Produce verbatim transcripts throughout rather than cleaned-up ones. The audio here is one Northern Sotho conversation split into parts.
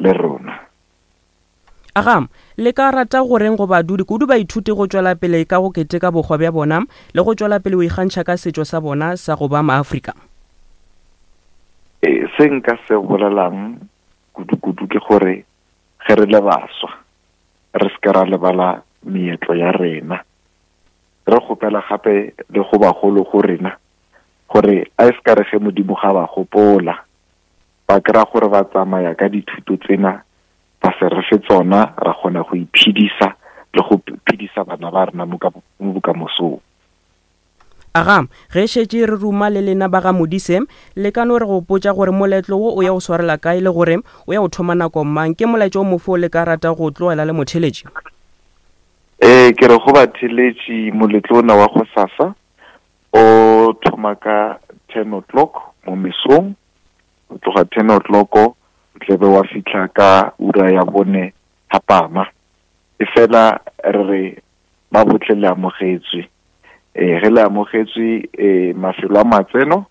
le rona. Aga, le ka rata goreng go badudi kudu baithuti go tšwela pele ka go keteka bokgwa bja bona le go tšwela pele go ikgantšha ka setšo sa bona sa go ba maAfrika? E, se nka se bolelang kudu-kudu ke gore ge re le baswa re se ke ra lebala meetlo ya rena. Re kgopela gape le go bagolo go rena gore a e se ka re ge Modimo ga ba gopola ba kry-a gore ba tsamaya ka dithuto tsena ba se re fe tsona, ra kgona go iphedisa le go phedisa bana ba rena mo bokamosong. Aga, ge šetše re ruma le lena ba ga Modise, le ka no re gopotša gore moletlo wo o ya go swarela kae le gore o ya go thoma nako mang? Ke molaetša o mofo le ka rata go tlogela le motheletši? Ee, ke re go batheletši moletlo ona wa go sasa o thoma ka ten o'clock mo mesong, o tloga ten o'clock o tlebe wa fihla ka ura ya bone thapama. E fela re re ba botle le amogetswe. E ge le amogetswe e mafelo a matseno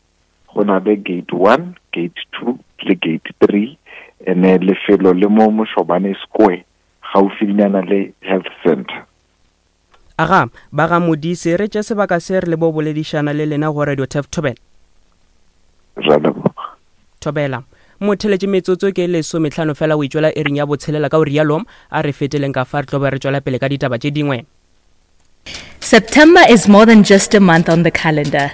go na le gate one, gate two le gate three, ene lefelo le mo Moshobane Square gaufinyana le health center. Aga, ba ga Modise, re tše sebaka se re le bo boledišana le lena go Radio Turf Thobela. Ra leboga. Thobela. Motheletši metsotso ke lesometlhano fela o itšwela ering ya botshelela, ka o rialo a re feteleng ka fa re tlo be re tšwela pele ka ditaba tše dingwe. September is more than just a month on the calendar.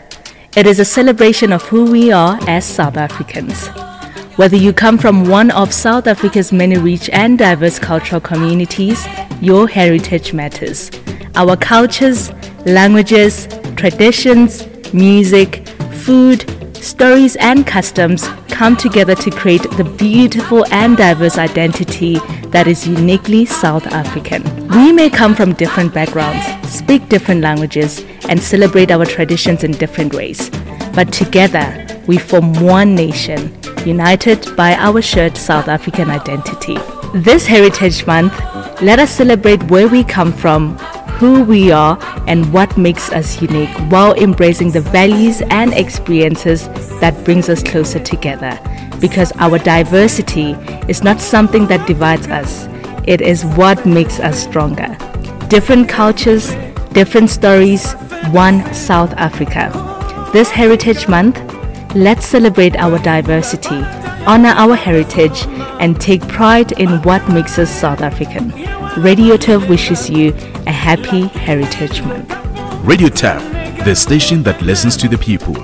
It is a celebration of who we are as South Africans. Whether you come from one of South Africa's many rich and diverse cultural communities, your heritage matters. Our cultures, languages, traditions, music, food, stories and customs come together to create the beautiful and diverse identity that is uniquely South African. We may come from different backgrounds, speak different languages, and celebrate our traditions in different ways. But together, we form one nation, united by our shared South African identity. This Heritage Month, let us celebrate where we come from, who we are, and what makes us unique, while embracing the values and experiences that brings us closer together. Because our diversity is not something that divides us, it is what makes us stronger. Different cultures, different stories, one South Africa. This Heritage Month, let's celebrate our diversity, honor our heritage, and take pride in what makes us South African. Radio Turf wishes you a happy Heritage Month. Radio Turf, the station that listens to the people.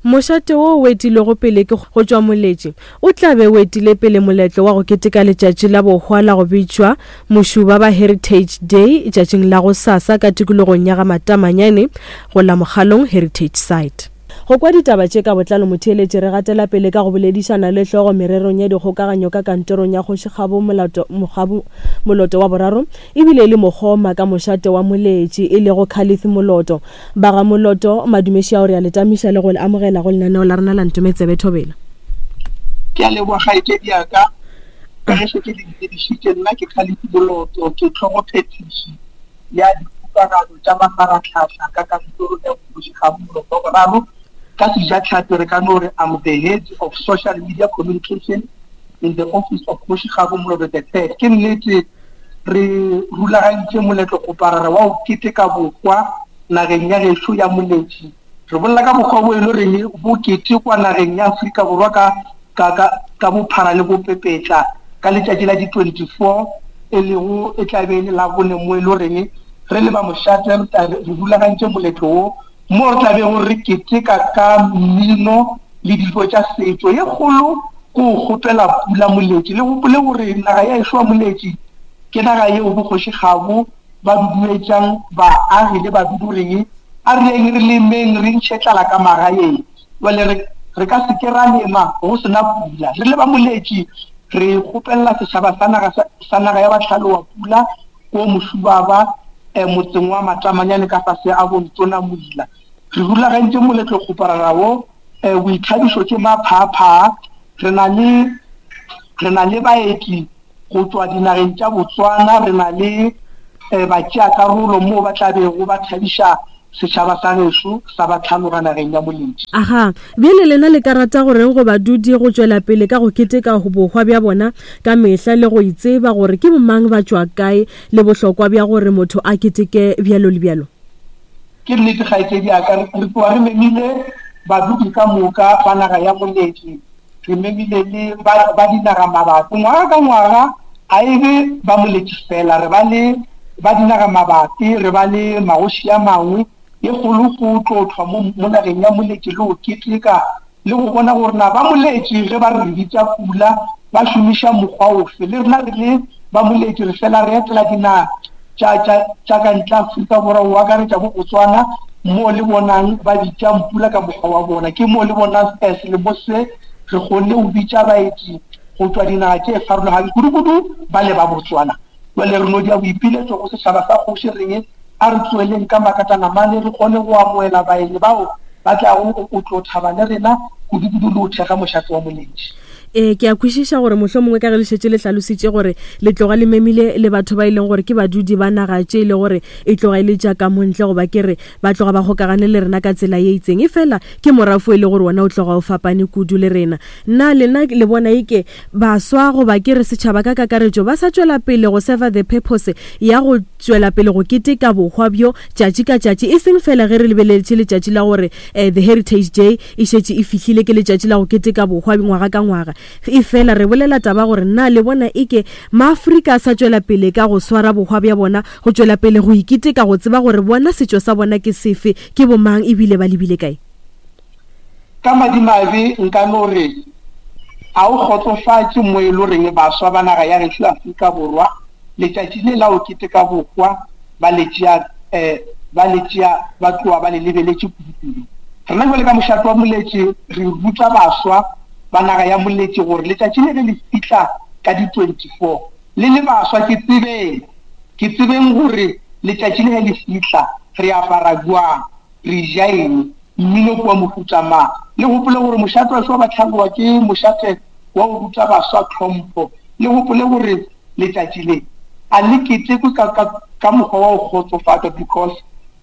Mošate wo o etilego pele ke go tšwa Moletši o tla be o etile pele moletlo wa go keteka letšatši la bohwa la go bitšwa Mošuba ba Heritage Day tšatšing la go sasa ka tikologong ya ga Matamanyane go la Mokgalong Heritage Site. Go kwa ditaba tše ka botlalo motheeletši re gatela pele ka go boledišana le hlogo mererong ya dikgokaganyo ka kantorong ya Kgoši Kgabo Molato Mokgabo Moloto wa boraro ebile e le mokgoma ka mošate wa Moletši e lego Khalif Moloto. Ba ga Moloto madumeši ao re a le tamiša le go le amogela go lenaneo la rena la Ntometsebe Thobela. Ke a leboga kgaetšedi ya ka, ka ge šetše le ntsebišitše, nna ke Khalif Moloto, ke tlhogophethiši ya dikgokagano tša mafarahlahla ka kantorong ya Kgoši Kgabo Moloto wa boraro. Ka sejatlhapi re ka no re I'm the head of social media communication in the office of Kgoši Kgabo Moloto the third. Ke nnete re rulagantše moletlo kgoparara wa go keteka bokgwa nageng ya gešo ya Moletši. Re bolela ka bokgwa bo e le goreng bo ketekwa nageng ya Afrika Borwa ka, ka, ka, ka bophara le bopepetla ka letšatši la di twenty-four, e lego e tla be e le la bone mo e le goreng re le ba mošate re tla re rulagantše moletlo wo mo re tla bego re keteka ka mmino le dijo tša setšo. Ye kgolo ke go kgopela pula Moletši. Le gopole gore naga ya ešo ya Moletši ke naga yeo boKgoši Kgabo ba duduetšang baagi le badudi goreng a re yeng re lemeng re ntšhe tlala ka magaeng. Jwale re, re ka se ke ra lema go sena pula. Re le ba Moletši re kgopelela setšhaba sa naga sa, sa naga ya Bahlalowa pula ko Mošubaba, eh, motseng wa Matamanyane ka fase a Bontona Moila. Re rulagantše moletlo kgoparara wo, eh, boithabišo tše maphaaphaa. Re na le, re na le baeti go tšwa dinageng tša Botswana, re na le, eh, batšeakarolo moo ba tla bego ba thabiša Setšhaba sa gešo sa ba tlhaloga nageng ya Moletši. Aga, bjale lena le ka rata goreng go badudi go tšwela pele ka go keteka bohwa bja bona ka mehla le go itseba gore ke bomang ba tšwa kae le bohlokwa bja gore motho a keteke bjalo le bjalo? Ke nnete kgaetšedi ya ka, re tloga re memile badudi ka moka ba naga ya Moletši, re memile le ba, ba dinaga mabapi. Ngwaga ka ngwaga a e be ba Moletši fela, re ba le ba dinaga mabapi, re ba le magoši a mangwe ye kgolo go tlo thwa mo, mo nageng ya Moletši le go keteka le go bona gore na ba Moletši ge ba re bitša pula ba šomiša mokgwa ofe. Le rena re le ba Moletši re fela re etela dinaga tša, tša, tša ka ntle Afrika Borwa, go akaretša bo Botswana, mo le bonang ba bitšang pula ka mokgwa wa bona. Ke mo le bonang selemo se re kgonne go bitša baeti go tšwa dinaga tše farologaneng, kudu-kudu ba le ba Botswana. Jwale re no dia boipiletšo go setšhaba sa kgoši reng a re tsoeleng ka makatanamane re kgone go amoela baeng bao ba tlago go tlo thaba le rena, kudu-kudu le go thekga mošate wa Moletši. E, ke a kwešiša gore mohlomongwe ka ge le šetše le hlalositše gore le tloga le memile le batho ba e leng gore ke badudi ba naga tše e le gore e tloga e le tša ka montle, goba ke re ba tloga ba kgokagane le rena ka tsela ye itseng, e fela ke morafo e le gore wona o tloga o fapane kudu le rena. Nna lena le bona eke baswa goba ke re setšhaba ka kakaretšo ba sa tšwela pele go serve the purpose ya go tšwela pele go keteka bohwa bjo tšatši ka tšatši, e seng fela ge re lebeletše letšatši la gore eh, the Heritage Day e šetše e fihlile, ke letšatši la go keteka bohwa ngwaga ka ngwaga. E fela re bolela taba gore nna le bona eke maAfrika a sa tšwela pele ka go swara bohwa bja bona, go tšwela pele go iketeka, go tseba gore bona setšo sa bona ke sefe, ke bomang ebile ba lebile kae. Ka madimabe nka no re a o kgotsofatše mo e le goreng baswa ba naga ya gešo Afrika Borwa letšatši le la go keteka bohwa ba le tšea, eh, ba le tšea ba tloga ba le lebeletše kudu-kudu. Rena jwale ka mošate wa Moletši re ruta baswa ba naga ya Moletši gore letšatši le ge le fihla ka di twenty-four le le baswa ke tsebeng, ke tsebeng gore letšatši le ge le fihla re apara jwang, re ja eng, mmino ke wa mohuta mang. Le gopole gore mošate wa ba tlhaloga ke mošate wa go ruta baswa tlhompho. Le gopole gore letšatši le a le ketekwe ka, ka, ka mokgwa wa go kgotsofatša, because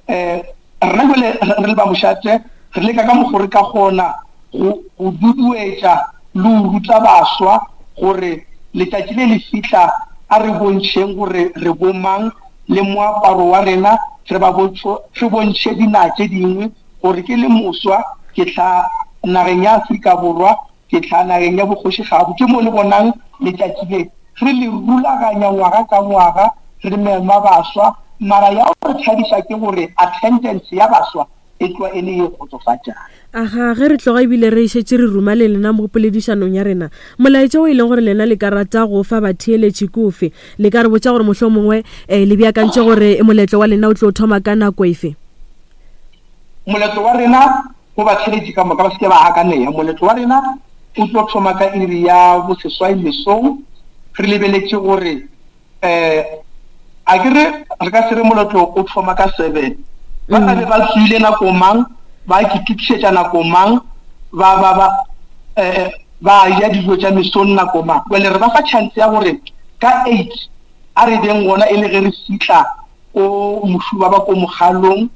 eh, rena jwale re le ba mošate re leka ka mokgwa re ka kgona go, go duduetša le go ruta baswa gore letšatši le le fihla a re bontšheng gore re bomang le moaparo wa rena, re ba bontšho, re bontšhe dinaga tše dingwe gore ke le moswa ke tla nageng ya Afrika Borwa, ke tla nageng ya bogoši gabo. Ke mo le bonang letšatši le re le rulaganya ngwaga ka ngwaga, re mema baswa, mara ya go re thabiša ke gore attendance ya baswa e tloga e le ye kgotsofatšang. Aga, ge re tloga ebile re šetše re ruma le lena mo poledišanong ya rena, molaetša o e leng gore lena le ka rata go fa batheeletši ke ofe? Le ka re botša gore mohlomongwe eh, le beakantše gore moletlo wa lena o tlo thoma ka nako efe? Moletlo wa rena go batheeletši ka moka ba se ke ba gakanega. Moletlo wa rena o tlo thoma ka iri ya boseswai mesong. Re lebeletše gore eh, a ke re re ka se re moletlo o thoma ka seven, ba tla be ba tswile nako mang, ba itokišetša nako mang, ba, ba, ba, eh, ba ja dijo tša mesong nako mang. Jwale re ba fa chance ya gore ka eight a re beng gona e le ge re fihla ko mošuba ba ko mogalong,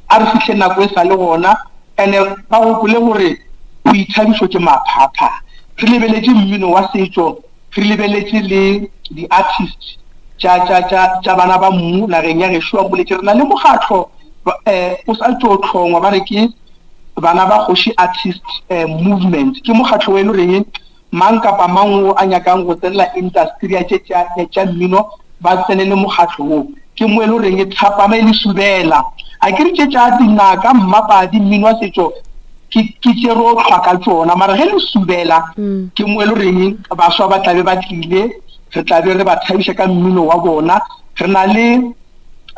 a re fihle nako e sa le gona. Ene ba gopole gore boithabišo ke maphapha. Re lebeletše mmino wa setšo, re lebeletše le di-artist tša, tša, tša, tša bana ba mmu nageng ya gešo ya Moletši. Re na le mokgatlo, eh, o sa tšo hlongwa, ba re ke bana ba kgoši artist, eh, movement. Ke mokgatlo o e le goreng mang kapa mang o a nyakang go tsenela industry ya tše tša, tša mmino ba tsenele mokgatlo wo. Ke mo e le goreng thapama e le subela. A ke re tše tša dinaka, mmapadi, mmino wa setšo ke, ke tše re o hlwa ka tšona, mara ge le subela Mm. ke mo e le goreng baswa ba tlabe ba tlile, re tlabe re ba thabiša ka mmino wa bona. Re na le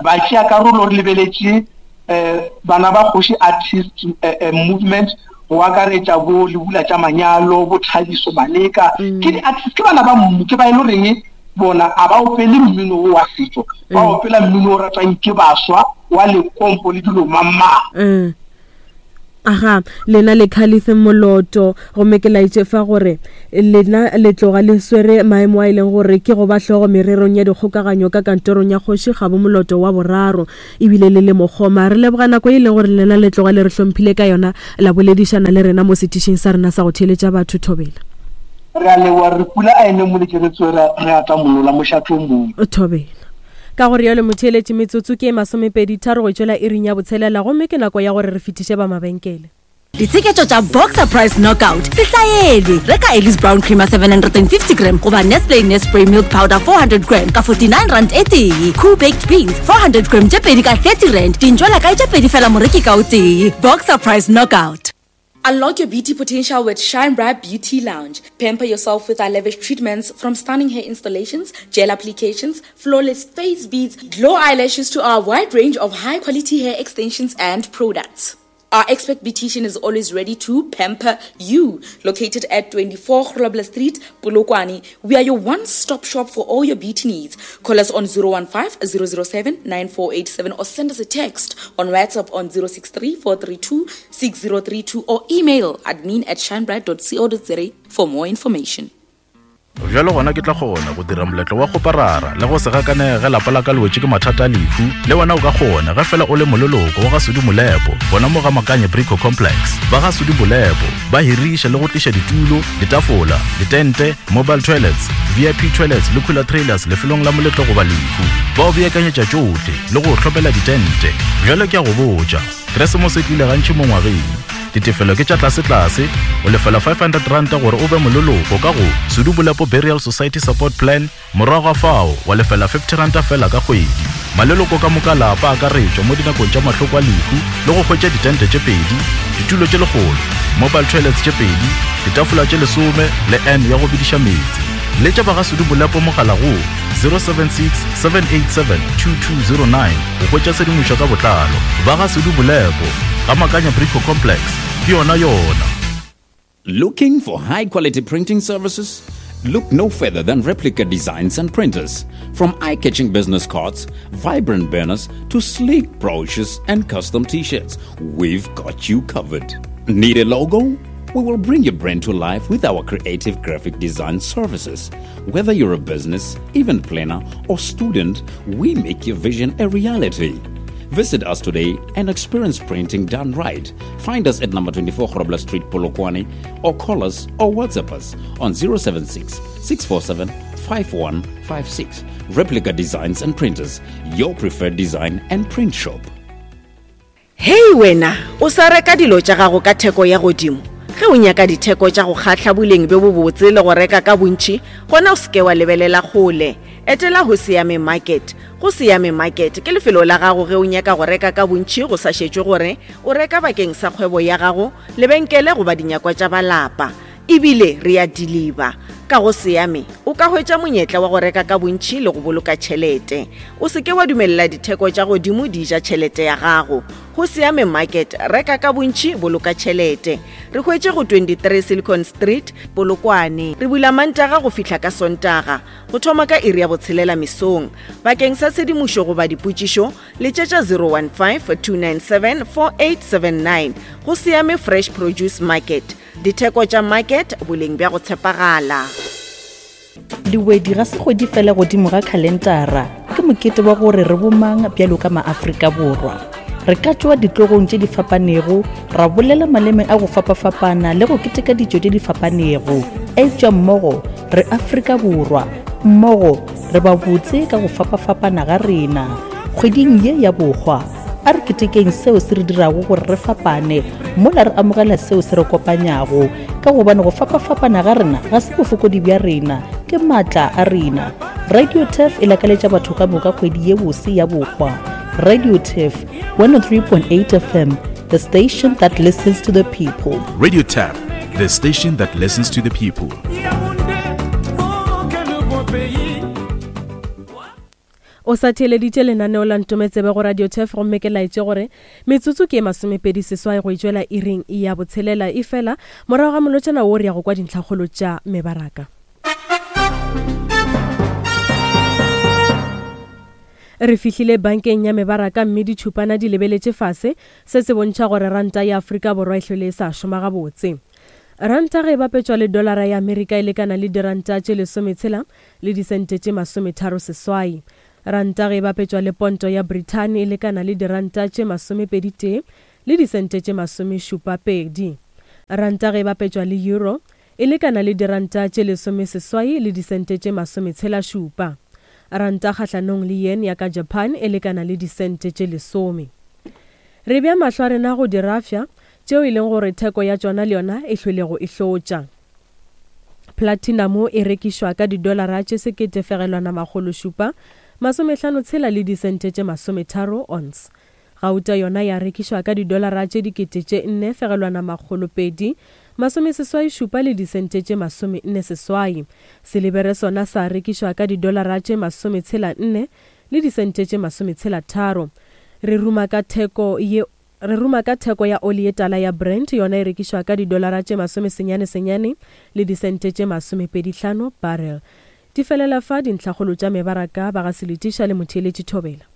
batšeakarolo, re lebeletše eh, bana ba kgoši artist, eh, eh, movement, go akaretša bo Lebula tša Manyalo, bo Thabiso Maleka. Mm. Ke di-artist, ke bana ba mmu, ke ba e le goreng bona a ba opele mmino o wa setšo, ba Mm. opela mmino o ratwang ke baswa wa lekompo le dilo mamang. Mm. Aga, lena le Khalif Moloto, gomme ke laetše fa gore lena le tloga le swere maemo a e leng gore ke go ba hlogo mererong ya dikgokaganyo ka kantorong ya kgoši Kgabo Moloto wa boraro, ebile le le mokgoma. Re leboga nako e leng gore lena le tloga le re hlomphile ka yona, la boledišana le rena mo setišing sa rena sa go theeletša batho. Thobela. Re a leboga, re pula a ene mo letšeretswe re a tla molola mošatong mo. Thobela. Ka gore yalo motheeletši, metsotso ke masomepedi tharo go tšwela iring ya botshelela, gomme ke nako ya gore re fetiše ba mabenkele. Ditsheketšo tša Boxer Price Knockout se hlaelwe. Reka Ellis Brown Creamer seven hundred and fifty gram goba Nestle Nespray Milk Powder four hundred gram ka forty-nine rand e tee. Cool Baked Beans four hundred gram tše pedi ka thirty rand. Dintšwela kae tše pedi fela moreki ka o tee. Boxer Price Knockout. Unlock your beauty potential with Shine Bright Beauty Lounge. Pamper yourself with our lavish treatments, from stunning hair installations, gel applications, flawless face beads, glow eyelashes to our wide range of high-quality hair extensions and products. Our expert beautician is always ready to pamper you. Located at twenty-four Grobler Street, Polokwane, we are your one-stop shop for all your beauty needs. Call us on zero one five, zero zero seven, nine four eight seven or send us a text on WhatsApp on zero six three, four three two, six zero three two or email admin at shinebright dot co dot za for more information. Bjalo gona ke tla kgona go dira moletlo wa go parara le go se gakanege lapa la ka le wetše ke mathata a lehu. Le wena o ka kgona ge fela o le moleloko wa ga Sudi Molepo, gona mo ga Makanye Brico Complex. Ba ga Sudi Molepo ba hiriša le go tliša ditulo, ditafola, ditente, mobile toilets, V I P toilets le cooler trailers lefelong la moletlo goba lehu. Ba o beakanyetša tšohle le go hlopela ditente. Bjalo ke a go botša, Keresemose e tlile gantši mo ngwageng. Ditefelo ke tša tlase-tlase, o lefela five hundred rand gore o be moleloko ka go Sudi Molepo Burial Society Support Plan, morago ga fao wa lefela fifty rand fela ka kgwedi. Maleloko ka moka lapa a akaretšwa mo dinakong tša mahloko a lehu le go hwetša ditente tše pedi, ditulo tše lekgolo, mobile toilets tše pedi, ditafola tše lesome le N ya go bidiša meetse. Letša ba ga Sudi Molepo mogala go zero seven six, seven eight seven, two two zero nine go hwetša tshedimošo ka botlalo. Ba ga Sudi Molepo ga Makanya Brico Complex, ke yona yona. Looking for high quality printing services? Look no further than Replica Designs and Printers. From eye-catching business cards, vibrant banners, to sleek brochures and custom t-shirts, we've got you covered. Need a logo? We will bring your brand to life with our creative graphic design services. Whether you're a business, event planner, or student, we make your vision a reality. Visit us today and experience printing done right. Find us at number twenty-four Grobler Street, Polokwane, or call us or WhatsApp us on zero seven six, six four seven, five one five six. Replica Designs and Printers, your preferred design and print shop. Hey wena, o sa reka dilo tša gago ka theko ya godimo. Ge o nyaka ditheko tša go kgahla boleng bjo bobotse le go reka ka bontši, gona o se ke wa lebelela kgole. Etela go Siame Market. Go Siame Market ke lefelo la gago ge o nyaka go reka ka bontši go sa šetšwe gore o reka bakeng sa kgwebo ya gago, lebenkele goba dinyakwa tša balapa. Ebile re a deliver. Ka go Siame o ka hwetša monyetla wa go reka ka bontši le go boloka tšhelete. O se ke wa dumelela ditheko tša godimo di ja tšhelete ya gago. Go Siame Market, reka ka bontši, boloka tšhelete. Re hwetše go twenty-three Silicon Street, Polokwane. Re bula Mantaga go fihla ka Sontaga, go thoma ka iri ya botshelela mesong. Bakeng sa tshedimošo goba dipotšišo, letšetša zero one five, two nine seven, four eight seven nine. Go Siame Fresh Produce Market. Ditheko tša market, boleng bja go tshepagala. Lewedi ga se kgwedi fela godimo ga khalentara, ke mokete wa gore re bomang bjalo ka maAfrika Borwa. Re ka tšwa ditlogong tše di fapanego, ra bolela maleme a go fapafapana le go keteka ditšo tše di fapanego. Eupša mmogo re Afrika Borwa, mmogo re ba botse ka go fapafapana ga rena. Kgweding ye ya bohwa, a re ketekeng seo se re dirago gore re fapane, mola re amogela seo se re kopanyago, ka gobane go fapafapana ga rena ga se bofokodi bja rena, ke maatla a rena. Radio Turf e lakaletša batho ka moka kgwedi ye bose ya bohwa. Radio Turf one oh three point eight F M, the station that listens to the people. Radio Turf, the station that listens to the people. O sa theeleditše lenaneo la Ntometsebe go Radio Turf, gomme ke laetše gore metsotso ke masomepedi seswai go itšwela iring ya botshelela, e fela morago ga molotšana wo re ya go kwa dintlhakgolo tša mebaraka. Re fihlile bankeng ya mebaraka mme ditšhupana di lebeletše fase, se se bontšha gore ranta ya Afrika Borwa e hlwele e sa šoma gabotse. Ranta ge e bapetšwa le dolara ya Amerika e lekana le diranta tše lesometshela le disente tše masometharo seswai. Ranta ge e bapetšwa le ponto ya Britain e lekana le diranta tše masomepedi tee le disente tše masomešupa pedi. Ranta ge e bapetšwa le euro e lekana le diranta tše lesomeseswai le disente tše masometshela šupa. Ranta kgahlanong le yen ya ka Japan e lekana le disente tše lesome. Re bea mahlo a rena go dirafša tšeo e leng gore theko ya tšona le yona e hlwelego e hlotša. Platinum e rekišwa ka didolara tše sekete fegelwana makgolo šupa masomehlano tshela le disente tše masometharo ounce. Gauta yona ya rekišwa ka didolara tše dikete tše nne fegelwana makgolo pedi masomeseswai šupa le disente tše masomenne seswai. Silibere sona sa rekišwa ka didolara tše masometshela nne le disente tše masometshela tharo. Re ruma ka theko ye Re ruma ka theko ya oli ye tala ya Brent, yona e rekišwa ka didolara tše masomesenyane senyane le disente tše masomepedi hlano barrel. Di felela fa dintlhakgolo tša mebaraka ba ga Seletiša le Motheeletši Thobela.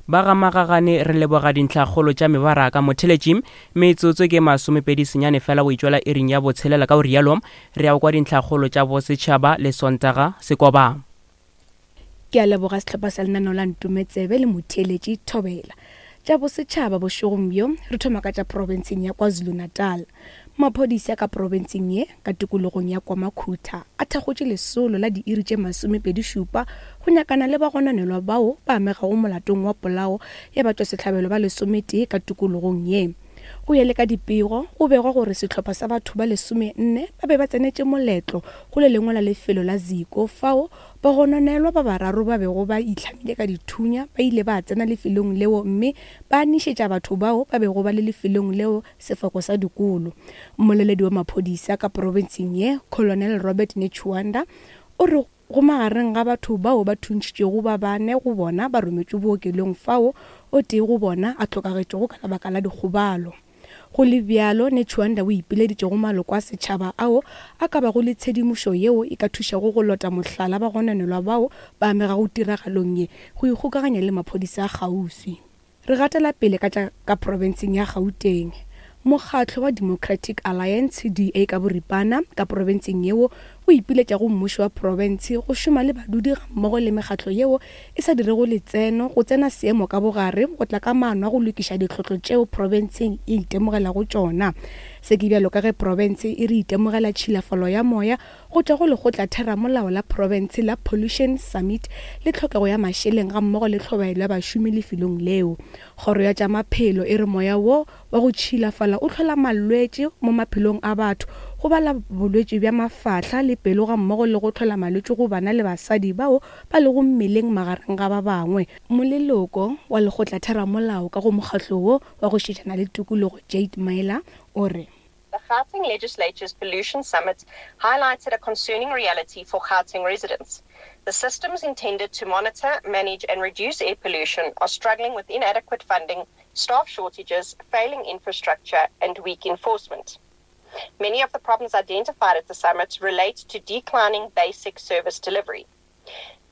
Ba ga Magagane re leboga dintlhakgolo tša mebaraka. Motheletši metsotso ke masomepedi senyane fela go itšwela iring ya botshelela, ka o rialo re ya kwa dintlhakgolo tša bosetšhaba le Sontaga Sekoba. Ke a leboga sehlopha sa lenaneo la Ntometsebe le Motheeletši Thobela. Tša bosetšhaba bošegong bjo re thoma ka tša profenseng ya KwaZulu-Natal. Maphodisa ka profenseng ye ka tikologong ya KwaMakhutha a thakgotše lesolo la diiri tše masomepedi šupa go nyakana le bagononelwa bao ba amegago molatong wa polao ya batšwasehlabelo ba lesometee ka tikologong ye. Go ya le ka dipego, go begwa gore sehlopha sa batho ba lesomenne ba be ba tsenetše moletlo go le lengwe la lefelo la Ziko fao bagononelwa ba bararo ba bego ba itlhamile ka dithunya ba ile ba tsena lefelong leo mme ba nišetša batho bao ba bego ba le lefelong leo sefako sa dikolo. Mmoleledi wa maphodisa ka profenseng ye, Colonel Robert Netshiunda, o re go magareng ga batho bao ba thuntšhitšego ba bane go bona ba rometšwe bookelong fao o tee go bona a hlokagetšego ka lebaka la dikgobalo. Go le bjalo, Netshiunda o ipileditše go maloko a setšhaba ao a ka bago le tshedimošo yeo e ka thušago go lota mohlala bagononelwa bao ba amegago tiragalong ye go ikgokaganya le maphodisa a kgauswi. Re gatela pele ka tša ka profenseng ya Gauteng. Mokgatlo wa Democratic Alliance D A ka boripana ka profenseng yeo o ipiletša go mmušo wa profense go šoma le badudi gammogo le mekgatlo yeo e sa dirego letseno go tsena seemo ka bogare go tla ka maano a go lokiša ditlhotlo tšeo profenseng e itemogelago tšona. Se ke bjalo ka ge profense e re itemogela tšhilafalo ya moya go tšwa go lekgotlatheramolao la profense la Pollution Summit le tlhokego ya mašeleng gammogo le tlhobaelo ya bašomi lefelong leo. Kgoro ya tša maphelo e re moya wo wa go tšhilafala o hlola malwetši mo maphelong a batho, go bala bolwetši bja mafahla le pelo gammogo le go hlola malwetši go bana le basadi bao ba lego mmeleng magareng ga ba bangwe. Moleloko wa lekgotlatheramolao ka go mokgatlo wo wa go šetšana le tikologo Jade Myler o re The Gauteng Legislature's Pollution Summit highlighted a concerning reality for Gauteng residents. The systems intended to monitor, manage and reduce air pollution are struggling with inadequate funding, staff shortages, failing infrastructure and weak enforcement. Many of the problems identified at the summit relate to declining basic service delivery.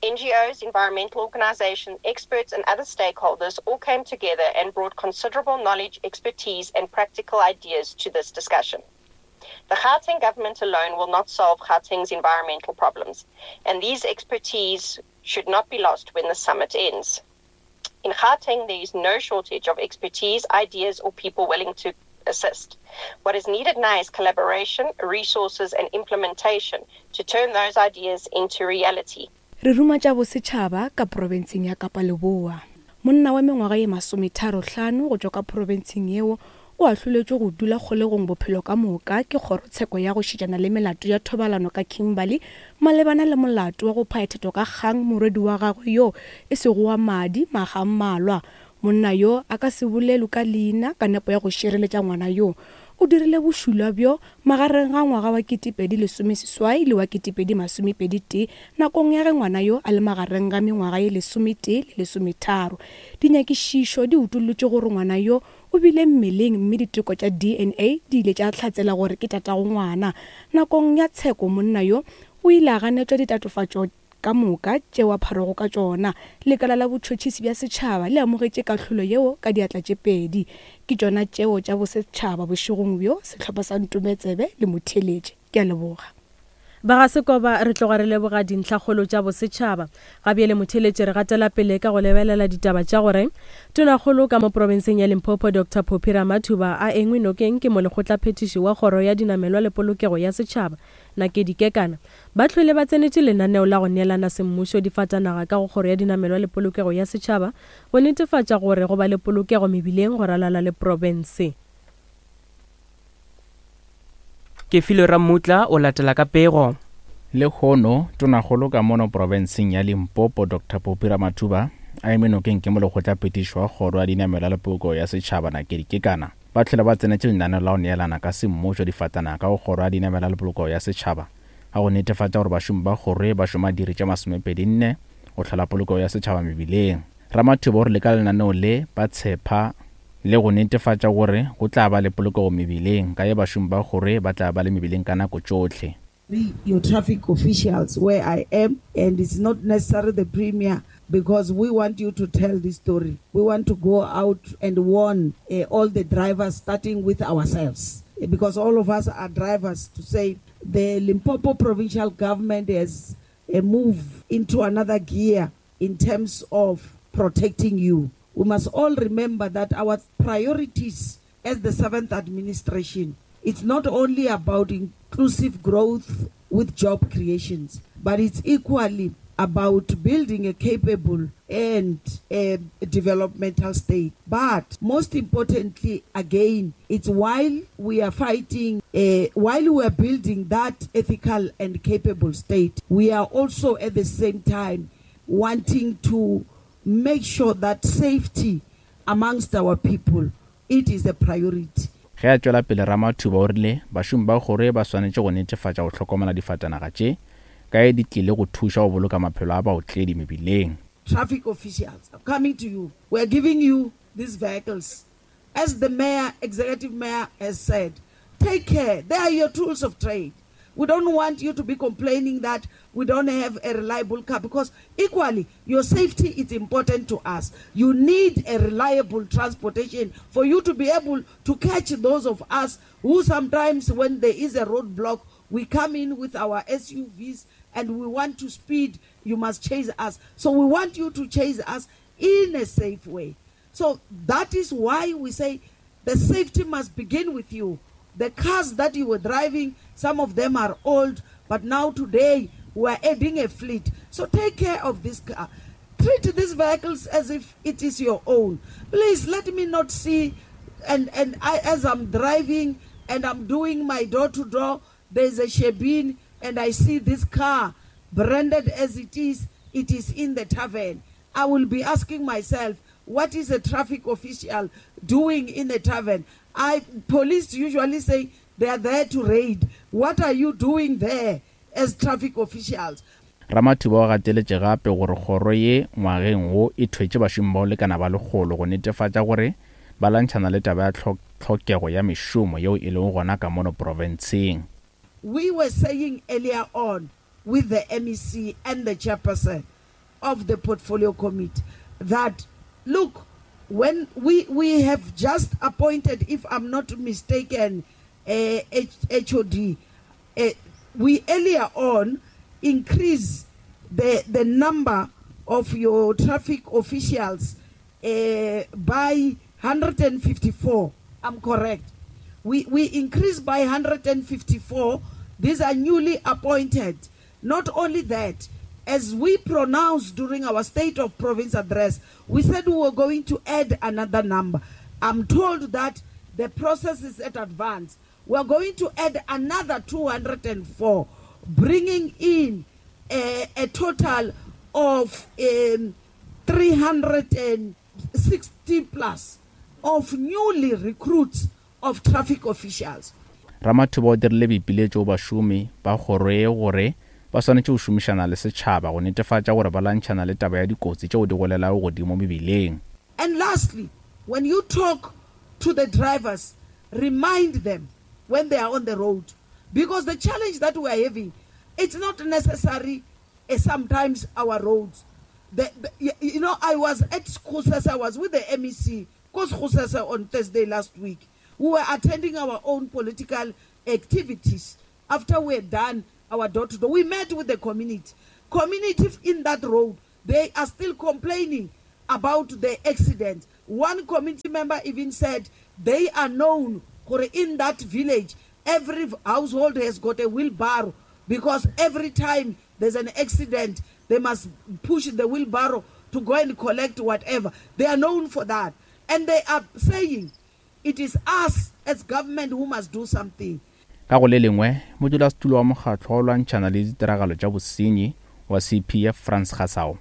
N G Os, environmental organizations, experts and other stakeholders all came together and brought considerable knowledge, expertise and practical ideas to this discussion. The Gauteng government alone will not solve Gauteng's environmental problems, and these expertise should not be lost when the summit ends. In Gauteng, there is no shortage of expertise, ideas or people willing to assist. What is needed now is collaboration, resources and implementation to turn those ideas into reality. Re ruma tša bosetšhaba ka profenseng ya Kapa Leboa. Monna wa mengwaga ye masometharo hlano go tšwa ka profenseng yeo o ahloletšwe go dula kgolegong bophelo ka moka ke kgorotsheko ya go šetšana le melato ya thobalano ka Kimberley malebana le molato wa go phaethetwa ka kgang morwedi wa gagwe yo e sego wa madi maga a mmalwa. Monna yo a ka se bolelwe ka leina ka nepo ya go šireletša ngwana yo. O dirile bošula bjo magareng ga ngwaga wa ketepedi lesomeseswai le wa ketepedi masomepedi tee nakong ya ge ngwana yo a le magareng ga mengwaga ye lesometee le lesometharo. Dinyakišišo di utollotše gore ngwana yo o bile mmeleng mme diteko tša D N A di ile tša hlatsela gore ke tatago ngwana. Nakong ya tsheko monna yo o O ile a ganetšwa ditatofatšo ka moka tšeo a pharwago ka tšona. Lekala la botšhotšhisi bja setšhaba le amogetše kahlolo yeo ka diatla tše pedi. Ke tšona tšeo tša bosetšhaba bošegong bjo, sehlopha sa Ntometsebe le motheeletše. Ke a leboga. Ba ga Sekoba re tloga re leboga dintlhakgolo tša bosetšhaba. Ga bjale motheeletše re gatela pele ka go lebelela ditaba tša gore Tonakgolo ka mo profenseng ya Limpopo Doctor Phophi Ramathuba a engwe nokeng ke molekgotlaphethiši wa kgoro ya dinamelwa le polokego ya setšhaba Nakedi Kekana. Ba hlwele ba tsenetše lenaneo la go neelana semmušo difatanaga ka go kgoro ya dinamelwa le polokego ya setšhaba go netefatša gore go ba le polokego mebileng go ralala le profense. Ke Filwe Ramutla o latela ka pego. Lehono Tonakgolo ka mono profenseng ya Limpopo Doctor Phophi Ramathuba a eme nokeng ke molekgotlaphethiši wa kgoro ya dinamelwa le polokego ya setšhaba Nakedi Kekana. Ba hlwele ba tsenetše lenaneo la go neelana ka semmušo difatanaga ka go kgoro ya dinamelwa le polokego ya setšhaba ga go netefatša gore bašomi ba kgoro ba šoma diiri tše masomepedi nne go hlola polokego ya setšhaba mebileng. Ramathuba o rile ka lenaneo le ba tshepa le go netefatša gore go tla ba le polokego mebileng ka ye bašomi ba kgoro ba tla ba le mebileng ka nako tšohle. Be your traffic officials where I am, and it's not necessarily the premier, because we want you to tell this story. We want to go out and warn, uh, all the drivers, starting with ourselves, because all of us are drivers, to say the Limpopo provincial government has a move into another gear in terms of protecting you. We must all remember that our priorities as the seventh administration, it's not only about inclusive growth with job creations, but it's equally about building a capable and a developmental state. But most importantly, again, it's while we are fighting, uh, while we are building that ethical and capable state, we are also at the same time wanting to make sure that safety amongst our people, it is a priority. Ge a tšwela pele Ramathuba o rile bašomi ba kgoro ba swanetše go netefatša go hlokomela difatanaga tše ka e di tlile go thuša go boloka maphelo a baotledi mebileng. Traffic officials are coming to you. We are giving you these vehicles. As the mayor, executive mayor has said, take care. They are your tools of trade. We don't want you to be complaining that we don't have a reliable car, because equally, your safety is important to us. You need a reliable transportation for you to be able to catch those of us who sometimes when there is a roadblock, we come in with our S U Vs and we want to speed. You must chase us. So we want you to chase us in a safe way. So that is why we say the safety must begin with you. The cars that you were driving, some of them are old, but now today we are adding a fleet. So take care of this car. Treat these vehicles as if it is your own. Please let me not see, and, and I, as I'm driving and I'm doing my door-to-door, there's a shebeen and I see this car branded as it is, it is in the tavern. I will be asking myself, what is a traffic official doing in a tavern? I police usually say they are there to raid. What are you doing there as traffic officials? Ramathuba o gateletše gape gore kgoro ye ngwageng wo e thwetše bašomi bao lekana ba lekgolo go netefatša gore ba lwantšhana le taba ya tlhokego ya mešomo yeo e lego gona ka mono profenseng. We were saying earlier on with the M E C and the chairperson of the portfolio committee that, look, when we, we have just appointed, if I'm not mistaken, uh, H O D, uh, we earlier on increased the, the number of your traffic officials, uh, by one hundred fifty-four. I'm correct. We, we increased by one hundred fifty-four. These are newly appointed. Not only that, as we pronounced during our State of Province address, we said we were going to add another number. I'm told that the process is at advance. We are going to add another two hundred and four, bringing in a, a total of, um, three hundred and sixty plus of newly recruits of traffic officials. Ramathuba o dirile boipiletšo bašomi ba kgoro ye gore ba swanetše go šomišana le setšhaba go netefatša gore ba lwantšhana le taba ya dikotsi tšeo di golelago godimo mebileng. And lastly, when you talk to the drivers, remind them when they are on the road, because the challenge that we are having, It's not necessary uh, sometimes our roads. The, the, you know, I was at Sekgosese, I was with the M E C, Sekgosese on Thursday last week. We were attending our own political activities. After we had done our door-to-door, we met with the community. Community in that road, they are still complaining about the accident. One community member even said they are known in that village, every household has got a wheelbarrow because every time there's an accident, they must push the wheelbarrow to go and collect whatever. They are known for that. And they are saying it is us as government who must do something. Ka go le lengwe, modulasetulo wa mokgatlo wa lwantšhana le ditiragalo tša bosenyi wa C P F Frans Gasao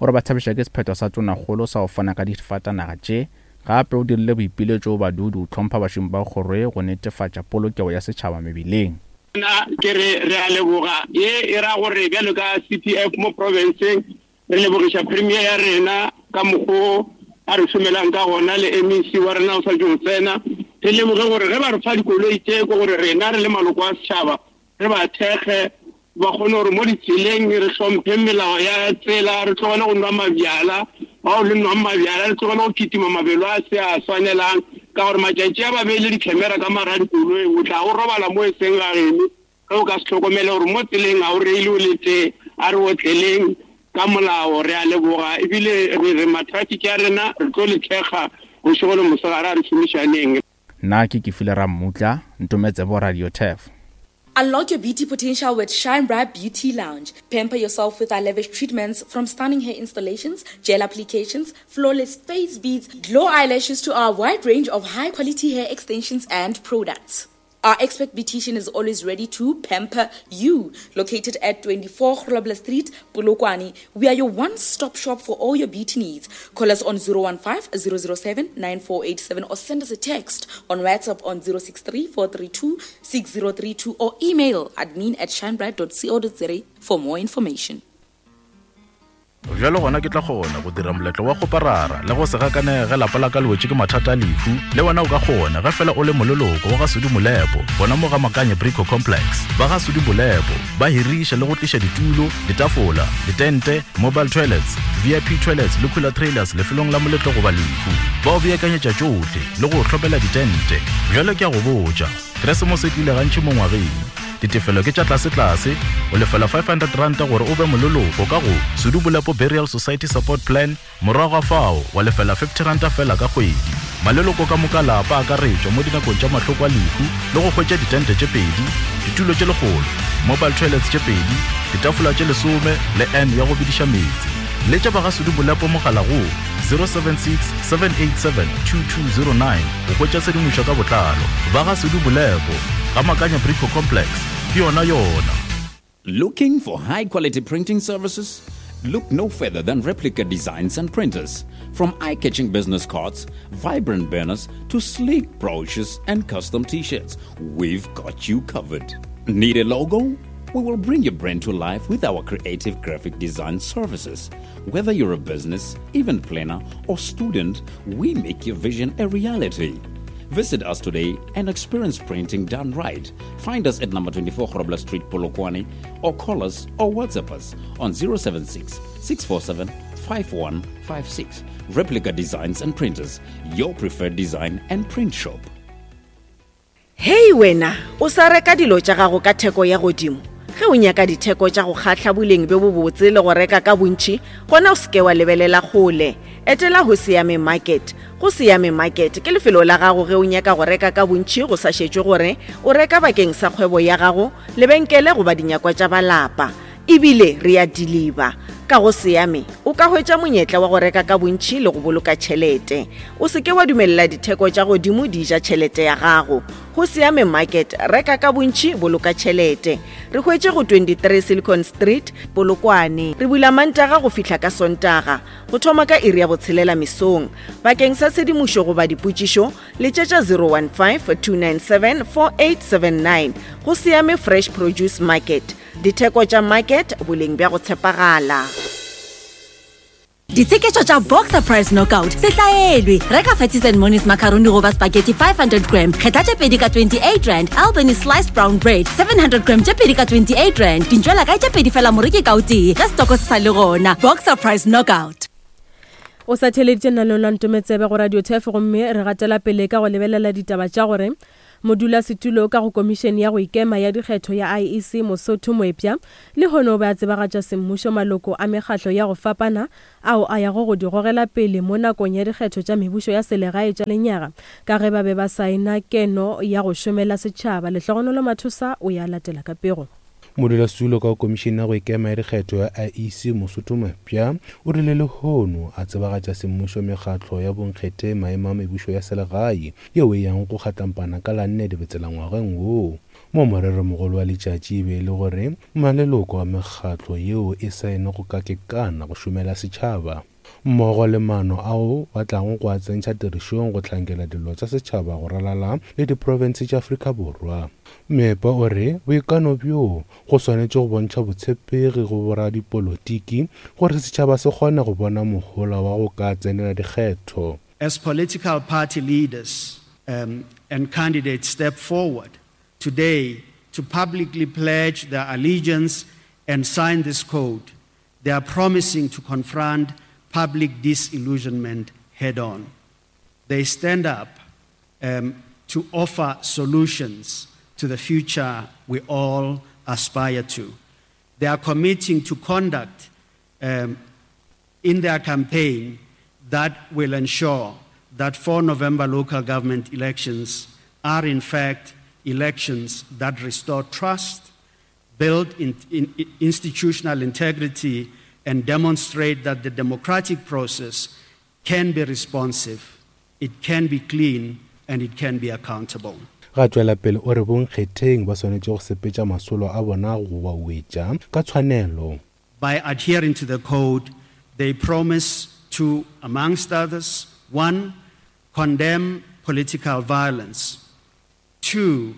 o re ba thabiša ke sephetho sa tonakgolo sa go fana ka difatanaga tše, gape o dirile boipiletšo go badudi go hlompha bašomi ba kgoro ye go netefatša polokego ya setšhaba mebileng. Nna ke re re a leboga ye e ra gore bjalo ka C P F mo provinceng re lebogiša premier ya rena ka mokgo a re šomelang ka gona le M E C wa rena o sa tšo tsena. Re lemoge gore ge ba re fa dikoloi tše ke gore rena re le maloko a setšhaba re ba thekge ba kgone gore mo ditseleng re hlomphe melao ya tsela, re tlogele go nwa mabjala, bao le nwang mabjala re tlogele go kitima mabelo a se a swanelang ka gore matšatši a ba beile di-camera ka mara dikoloi o tla o robala mo e seng ga geno ge o ka se hlokomele gore mo tseleng ga o reile o le tee. A re otleleng ka molao, re a leboga ebile re re ma-traffic ya rena re tlo le thekga bošego le mosegare, a re šomišaneng. Nna ke Kefile Rammutla, Ntometsebo Radio Turf. Unlock your beauty potential with Shine Bright Beauty Lounge. Pamper yourself with our lavish treatments from stunning hair installations, gel applications, flawless face beads, glow eyelashes to our wide range of high-quality hair extensions and products. Our expert beautician is always ready to pamper you. Located at twenty-four Grobler Street, Polokwane, we are your one-stop shop for all your beauty needs. Call us on zero one five, zero zero seven, nine four eight seven or send us a text on WhatsApp on zero six three, four three two, six zero three two or email admin at shinebright dot co dot za for more information. Bjalo gona ke tla kgona go dira moletlo wa go parara le go se gakanege lapa la ka le wetše ke mathata a lehu, le wena o ka kgona ge fela o le moleloko wa ga Sudi Molepo gona mo ga Makanye Brico Complex. Ba ga Sudi Molepo ba hiriša le go tliša ditulo, ditafola, ditente, mobile toilets, V I P toilets le cooler trailers lefelong la moletlo goba lehu. Ba o beakanyetša tšohle le go hlopela ditente. Bjalo ke a go botša, Keresemose e tlile gantši mo ngwageng. Ditefelo ke tša tlase-tlase, o lefela five hundred rand gore o be moleloko ka go Sudi Molepo Burial Society Support Plan, morago ga fao wa lefela fifty rand fela ka kgwedi. Maleloko ka moka lapa a akaretšwa mo dinakong tša mahloko a lehu le go hwetša ditente tše pedi, ditulo tše lekgolo, mobile toilets tše pedi, ditafola tše lesome le N ya go bediša meetse. Letša ba ga Sudi Molepo mogala go zero seven six, seven eight seven, two two zero nine go hwetša tshedimošo ka botlalo. Ba ga Sudi Molepo ga Makanya Brico Complex, ke yona yona. Looking for high quality printing services? Look no further than Replica Designs and Printers. From eye-catching business cards, vibrant banners, to sleek brochures and custom t-shirts, we've got you covered. Need a logo? We will bring your brand to life with our creative graphic design services. Whether you're a business, event planner, or student, we make your vision a reality. Visit us today and experience printing done right. Find us at number twenty-four Grobler Street, Polokwane, or call us or WhatsApp us on zero seven six, six four seven, five one five six. Replica Designs and Printers, your preferred design and print shop. Hey wena, o sa reka dilo tša gago ka theko ya godimo. Ge o nyaka ditheko tša go kgahla boleng bjo bobotse le go reka ka bontši, gona o seke wa lebelela kgole. Etela go Siame Market. Go Siame Market ke lefelo la gago ge o nyaka go reka ka bontši go sa šetšwe gore o reka bakeng sa kgwebo ya gago, lebenkele goba dinyakwa tša balapa. Ebile re a deliver. Ka go Siame o ka hwetša monyetla wa go reka ka bontši le go boloka tšhelete. O seke wa dumelela ditheko tša godimo di ja tšhelete ya gago. Go Siame Market, reka ka bontši, boloka tšhelete. Re hwetše go twenty-three Silicon Street, Polokwane. Re bula Mantaga go fihla ka Sontaga, go thoma ka iri ya botshelela mesong. Bakeng sa tshedimošo goba dipotšišo, letšetša zero one five, two nine seven, four eight seven nine. Go Siame Fresh Produce Market. Ditheko tša market, boleng bja go tshepagala. Ditsheketšo tša Boxer Price Knockout se hlaelwe. Reka Fatties and Monies macaroni goba spaghetti five hundred gram, kgetha tše pedi ka twenty-eight rand. Albany sliced brown bread seven hundred gram tše pedi ka twenty-eight rand. Dintšwela kae tše pedi fela moreki ka o tee ge setoko se sa le gona. Boxer Price Knockout. O sa theleditše lenaneo la Ntometsebe go Radio Turf, gomme re gatela pele ka go lebelela ditaba tša gore modulasetulo ka go komišene ya go ikema ya dikgetho ya I E C Mosotho Moepša lehono o be a tsebagatša semmušo maloko a mekgatlo ya go fapana ao a yago go di gogela pele mo nakong ya dikgetho tša mebušo ya selegae tša lenyaga ka ge ba be ba saena keno ya go šomela setšhaba. Lehlogonolo Mathosa o ya latela ka pego. Modulasetulo ka komišene ya go ikema ya dikgetho ya I E C Mosotho Moepša o rile lehono a tsebagatša semmušo mekgatlo ya bonkgethe maemo a mebušo ya selegae yeo e yang go kgatlampana ka la nne Dibetsela ngwageng woo. Mo moreromogolo wa letšatši e be e le gore maleloko a mekgatlo yeo e saene go ka kekana go šomela setšhaba mmogo le maano ao ba tlago go a tsentšha tirišong go hlankela dilo tša setšhaba go ralala le diprofense tša Afrika Borwa. Meepa o re boikano bjoo go swanetše go bontšha botshepegi go boradipolotiki gore setšhaba se kgone go bona mohola wa go ka tsenela dikgetho. As political party leaders um, and candidates step forward today to publicly pledge their allegiance and sign this code, they are promising to confront public disillusionment head on. They stand up um, to offer solutions to the future we all aspire to. They are committing to conduct um, in their campaign that will ensure that four November local government elections are in fact elections that restore trust, build in, in, institutional integrity, and demonstrate that the democratic process can be responsive, it can be clean, and it can be accountable. Ga tšwela pele o re bonkgetheng ba swanetše go sepetša masolo a bona go ba wetša ka tshwanelo. By adhering to the code, they promise to, amongst others, one, condemn political violence, two,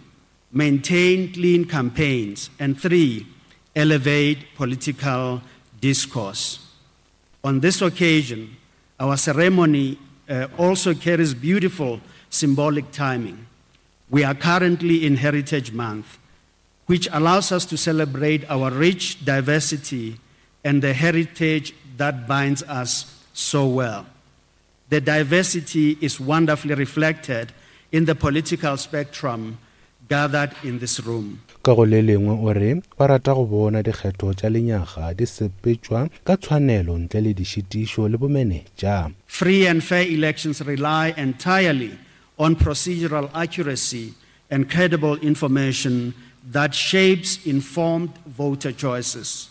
maintain clean campaigns, and three, elevate political discourse. On this occasion, our ceremony uh, also carries beautiful symbolic timing. We are currently in Heritage Month, which allows us to celebrate our rich diversity and the heritage that binds us so well. The diversity is wonderfully reflected in the political spectrum gathered in this room. Ka go le lengwe o re ba rata go bona dikgetho tša lenyaga di sepetšwa ka tshwanelo ntle le dišitišo le bomenetša. Free and fair elections rely entirely on procedural accuracy and credible information that shapes informed voter choices.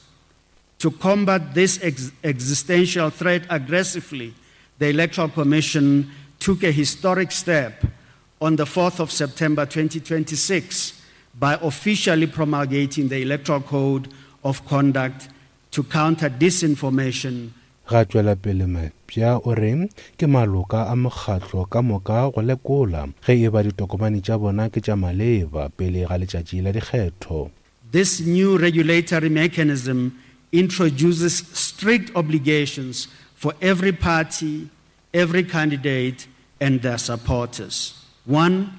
To combat this ex- existential threat aggressively, the Electoral Commission took a historic step on the fourth of September twenty twenty-six by officially promulgating the Electoral Code of Conduct to counter disinformation. Ga tšwela pele Mapša o re ke maloka a mokgatlo ka moka go lekola ge e ba ditokomane tša bona ke tša maleba pele ga letšatši la dikgetho. This new regulatory mechanism introduces strict obligations for every party, every candidate, and their supporters. One,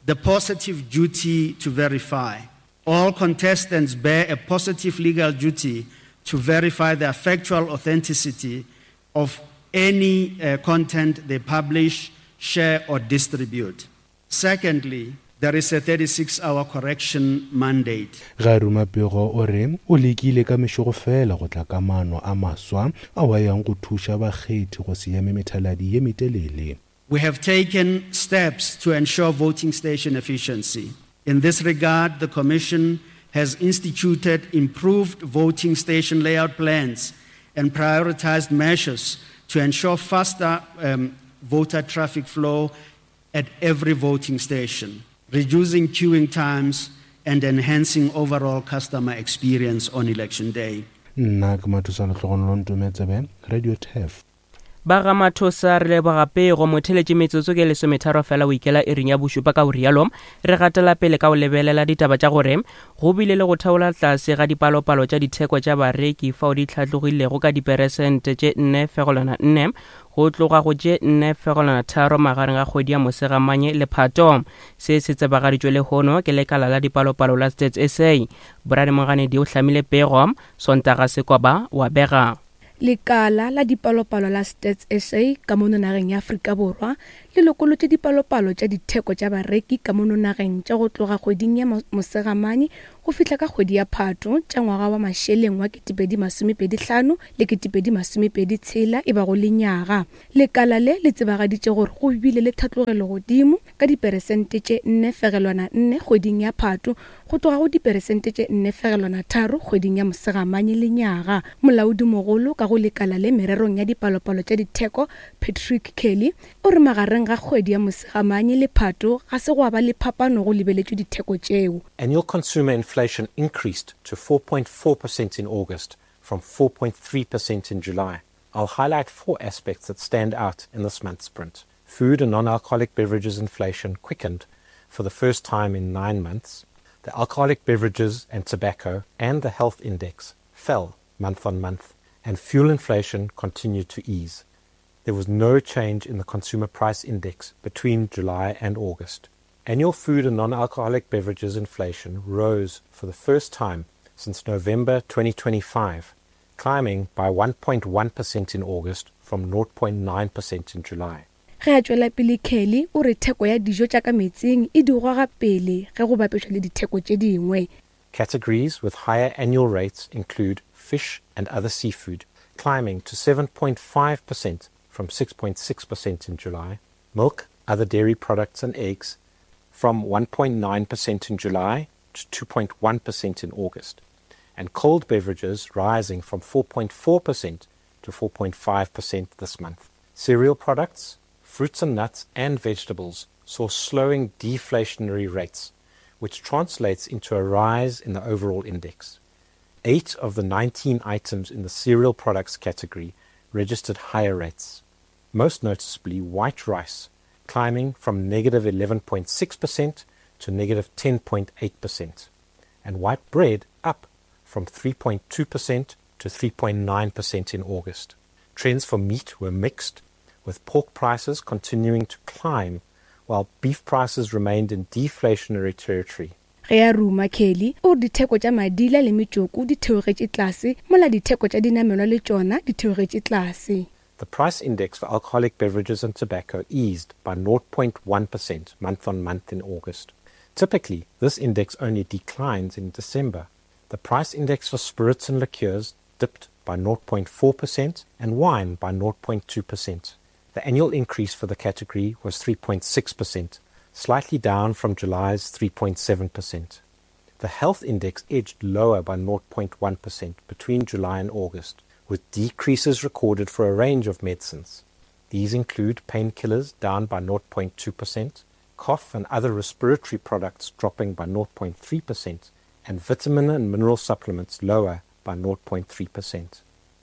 the positive duty to verify. All contestants bear a positive legal duty to verify the factual authenticity of any, uh, content they publish, share, or distribute. Secondly, there is a thirty-six hour correction mandate. Ga ruma pego o re o lekile ka mešogo fela go tla ka maano a maswa ao a yang go thuša bakgethi go se eme methaladi ye metelele. We have taken steps to ensure voting station efficiency. In this regard, the Commission has instituted improved voting station layout plans and prioritized measures to ensure faster, um, voter traffic flow at every voting station, reducing queuing times and enhancing overall customer experience on election day. Nna ke Mathosa Lehlogonolo Ntometsebe, Radio Turf. Ba ga Mathosa re leboga pego motheletše metsotso ke lesometharo fela o ikela iring ya bošupa. Ka o rialo re gatela pele ka o lebelela ditaba tša gore go bile le go theola tlase ga dipalopalo tša ditheko tša bareki fao di tlhatlogilego ka diperesente tše nne fegelwana nne go tloga go tše nne fegelwana tharo magareng ga kgwedi ya Mosegamanye le Phato. Se se tsebagaditšwe lehono ke lekala la dipalopalo la Stats S A. Brian Moganedi o hlamile pego, Sontaga Sekoba wa bega. Lekala la dipalopalo la Stats S A ka mono nageng ya Afrika Borwa le lokolotše dipalopalo tša ditheko tša bareki ka mono nageng tša go tloga kgweding ya Mosegamanye go fihla ka kgwedi ya Phato tša ngwaga wa mašeleng wa ketepedi masomepedi hlano le ketepedi masomepedi tshela e bago lenyaga. Lekala le le tsebagaditše gore go bile le tlhatlogelo godimo ka diperesente tše nne fegelwana nne kgweding ya Phato go tloga go diperesente tše nne fegelwana tharo kgweding ya Mosegamanye lenyaga. Molaodimogolo ka go lekala le mererong ya dipalopalo tša ditheko Patrick Kelly o re magareng ga kgwedi ya Mosegamanye le Phato ga se gwa ba le phapano go lebeletšwe ditheko tšeo. Annual consumer inflation increased to four point four percent in August from four point three percent in July. I'll highlight four aspects that stand out in this month's print. Food and non-alcoholic beverages inflation quickened for the first time in nine months. The alcoholic beverages and tobacco and the health index fell month on month, and fuel inflation continued to ease. There was no change in the consumer price index between July and August. Annual food and non-alcoholic beverages inflation rose for the first time since November twenty twenty-five, climbing by one point one percent in August from zero point nine percent in July. Ge a tšwela pele Kelly o re theko ya dijo tša ka metseng e di goga pele ge go bapetšwa le ditheko tše dingwe. Categories with higher annual rates include fish and other seafood, climbing to seven point five percent from six point six percent in July, milk, other dairy products and eggs from one point nine percent in July to two point one percent in August, and cold beverages rising from four point four percent to four point five percent this month. Cereal products, fruits and nuts and vegetables saw slowing deflationary rates, which translates into a rise in the overall index. Eight of the nineteen items in the cereal products category registered higher rates, most noticeably white rice, climbing from negative eleven point six percent to negative ten point eight percent, and white bread up from three point two percent to three point nine percent in August. Trends for meat were mixed, with pork prices continuing to climb while beef prices remained in deflationary territory. Ge a ruma Kelly o re ditheko tša madila le metšoko di theogetše tlase mola ditheko tša dinamelwa le tšona di theogetše tlase. The price index for alcoholic beverages and tobacco eased by zero point one percent month on month in August. Typically, this index only declines in December. The price index for spirits and liqueurs dipped by zero point four percent and wine by zero point two percent. The annual increase for the category was three point six percent, slightly down from July's three point seven percent. The health index edged lower by zero point one percent between July and August, with decreases recorded for a range of medicines. These include painkillers down by zero point two percent, cough and other respiratory products dropping by zero point three percent, and vitamin and mineral supplements lower by zero point three percent.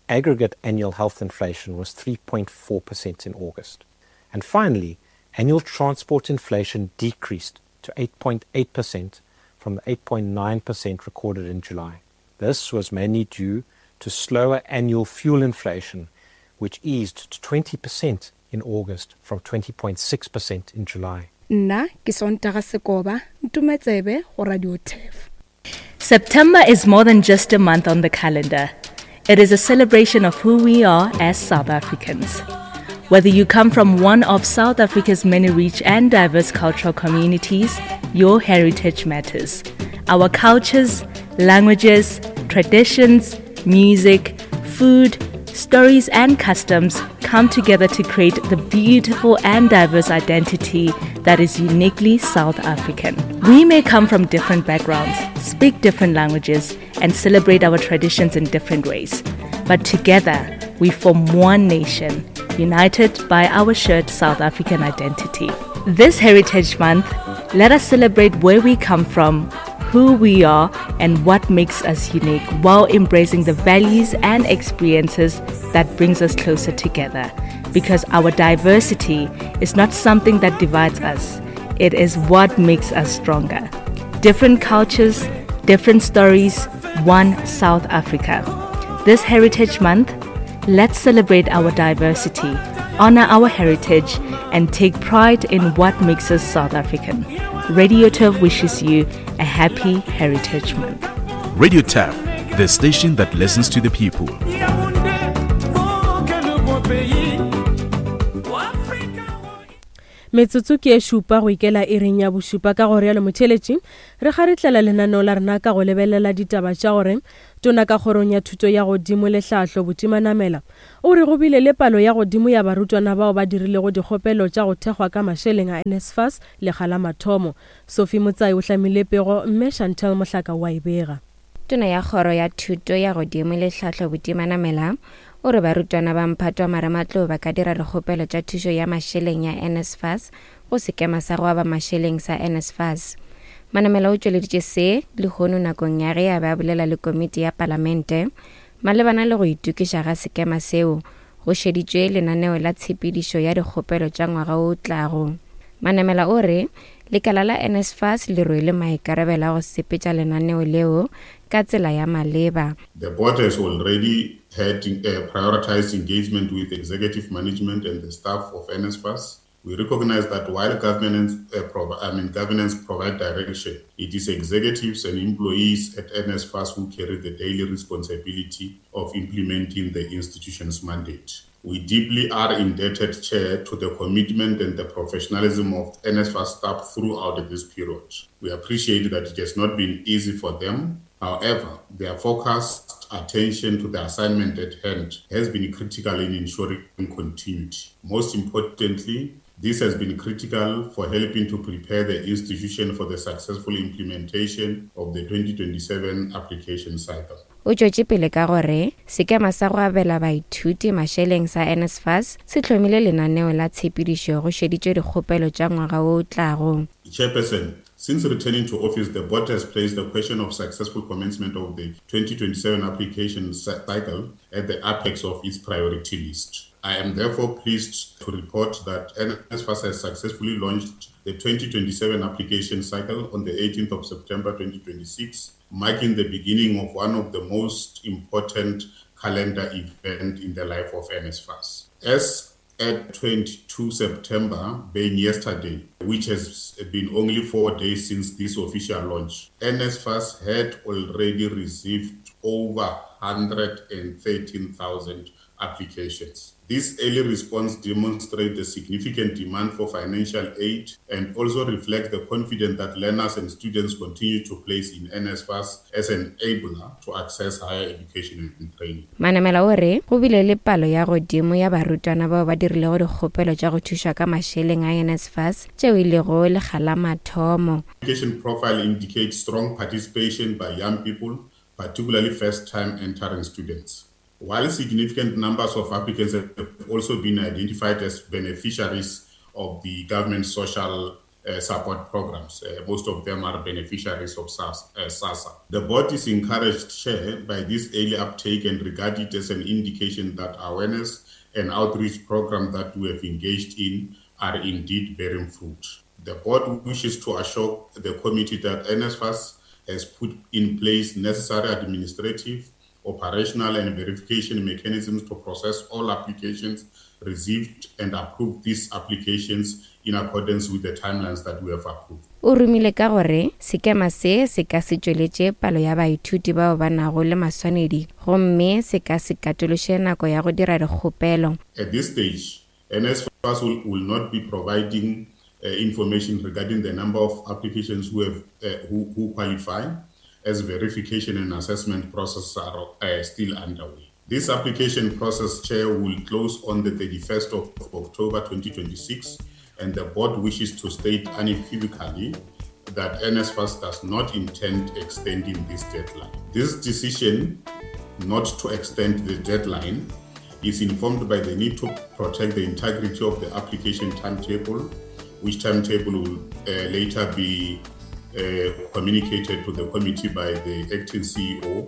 Aggregate annual health inflation was three point four percent in August. And finally, annual transport inflation decreased to eight point eight percent from the eight point nine percent recorded in July. This was mainly due to slower annual fuel inflation, which eased to twenty percent in August from twenty point six percent in July. Nna ke Sontaga Sekoba, Ntumetsebe go Radio T E F. September is more than just a month on the calendar. It is a celebration of who we are as South Africans. Whether you come from one of South Africa's many rich and diverse cultural communities, your heritage matters. Our cultures, languages, traditions, music, food, stories and customs come together to create the beautiful and diverse identity that is uniquely South African. We may come from different backgrounds, speak different languages, and celebrate our traditions in different ways. But together, we form one nation, united by our shared South African identity. This Heritage Month, let us celebrate where we come from, who we are, and what makes us unique, while embracing the values and experiences that brings us closer together. Because our diversity is not something that divides us, it is what makes us stronger. Different cultures, different stories, one South Africa. This Heritage Month, let's celebrate our diversity, honor our heritage, and take pride in what makes us South African. Radio Turf wishes you a happy Heritage Month. Radio Turf, the station that listens to the people. Metsotso ke e šupa go ikela iring ya bošupa. Ka gore yalo motheletši, re kgaretlela lenaneo la rena ka go lebelela ditaba tša gore tona ka kgorong ya thuto ya godimo le tlhahlo Buti Manamela o re go bile le palo ya godimo ya barutwana bao ba dirilego dikgopelo tša go thekgwa ka mašeleng a N S F A S lekga la mathomo. Sophie Motsai o hlamile pego, mme Chantel Mohlaka wa e bega. Tona ya kgoro ya thuto ya godimo le tlhahlo Buti Manamela o re barutwana ba mphato wa marematlou ba ka dira dikgopelo tša thušo ya mašeleng ya N S F A S go sekema sa go aba mašeleng sa N S F A S. Manamela o tšweleditše se lehono nakong ya ge a be a bolela le komiti ya palamente malebana le go itokiša ga sekema seo go šeditšwe lenaneo la tshepedišo ya dikgopelo tša ngwaga o tlago. Manamela o re lekala la N S F A S le rwele maikarabelo a go sepetša lenaneo leo ka tsela ya maleba. The board has already had uh, prioritized engagement with executive management and the staff of N S F A S. We recognize that while governance, uh, prov- I mean, governance provide direction, it is executives and employees at N S F A S who carry the daily responsibility of implementing the institution's mandate. We deeply are indebted, Chair, to the commitment and the professionalism of N S F A S staff throughout this period. We appreciate that it has not been easy for them. However, their focused attention to the assignment at hand has been critical in ensuring continuity. Most importantly, this has been critical for helping to prepare the institution for the successful implementation of the twenty twenty-seven application cycle. O tšwetše pele ka gore sekema sa go abela baithuti mašeleng sa N S F A S se hlomile lenaneo la tshepedišo go šeditšwe dikgopelo tša ngwaga wo o tlago. Chairperson, since returning to office, the board has placed the question of successful commencement of the twenty twenty-seven application cycle at the apex of its priority list. I am therefore pleased to report that N S F A S has successfully launched the twenty twenty-seven application cycle on the eighteenth of September twenty twenty-six, marking the beginning of one of the most important calendar events in the life of N S F A S. As at twenty-two September, being yesterday, which has been only four days since this official launch, N S F A S had already received over one hundred thirteen thousand applications. This early response demonstrates the significant demand for financial aid and also reflects the confidence that learners and students continue to place in N S F A S as an enabler to access higher education and training. Manamela o re go bile le palo ya godimo ya barutwana bao ba dirilego dikgopelo tša go thušwa ka mašeleng a N S F A S tšeo e lego lekga la mathomo. Application profile indicates strong participation by young people, particularly first-time entering students. While significant numbers of applicants have also been identified as beneficiaries of the government social uh, support programs, uh, most of them are beneficiaries of S A S, uh, SASSA. The board is encouraged, Chair, by this early uptake and regard it as an indication that awareness and outreach program that we have engaged in are indeed bearing fruit. The board wishes to assure the committee that N S F A S has put in place necessary administrative, operational and verification mechanisms to process all applications received and approve these applications in accordance with the timelines that we have approved. O rumile ka gore sekema se se ka se tšweletše palo ya baithuti bao ba nago le maswanedi gomme se ka se katološe nako ya go dira dikgopelo. At this stage, N S F A S will, will not be providing uh, information regarding the number of applications who, have, uh, who, who qualify, as verification and assessment processes are uh, still underway. This application process, Chair, will close on the thirty-first of October twenty twenty-six, and the board wishes to state unequivocally that N S F A S does not intend extending this deadline. This decision not to extend the deadline is informed by the need to protect the integrity of the application timetable, which timetable will uh, later be Uh, communicated to the committee by the acting C E O,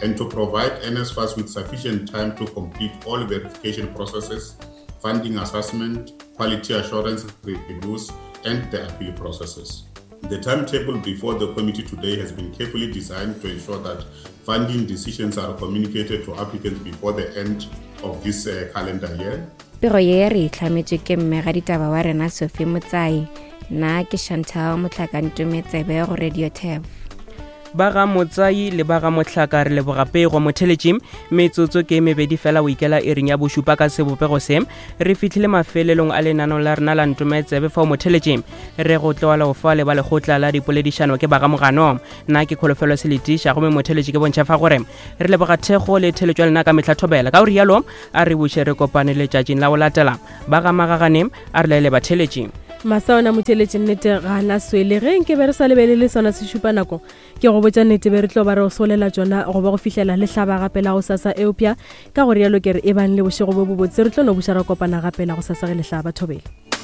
and to provide N S F A S with sufficient time to complete all verification processes, funding assessment, quality assurance reviews, and the appeal processes. The timetable before the committee today has been carefully designed to ensure that funding decisions are communicated to applicants before the end of this uh, calendar year. Pego ye re itlhametšwe ke mmegaditaba wa rena Sophie Motsai. Nna ke Chantal Motlhakantometsebe go Radio Tab. Ba ga Motsai le ba ga Mohlaka re leboga pego motheletši. Metsotso ke mebedi fela o ikela ering ya bošupa ka sebopego se. Re fihlile mafelelong a lenaneo la rena la Ntometsebe fao motheletši re go tlogela go fa le ba lekgotla la dipoledišano ke ba ga Mogano. Nna ke Kholofelo Seletiša gomme motheletši ke bontšha fa gore re leboga thekgo le theletšo ya lena ka mehla thobela. Ka go rialo a re buše re kopane letšatšing la go latela. Ba ga Magagane a re laele batheletši. Masaona motheletši nnete ga na swele ge nke be re sa lebelele sona se šupa nako ke go botša nnete be re tlo ba re o solela tšona go ba go fihlela le hlaba gape la go sasa eupša ka go rialo ke re e bang le bošego bo bobotse re tlo no buša ra kopana gape la go sasa ge le hlaba thobela.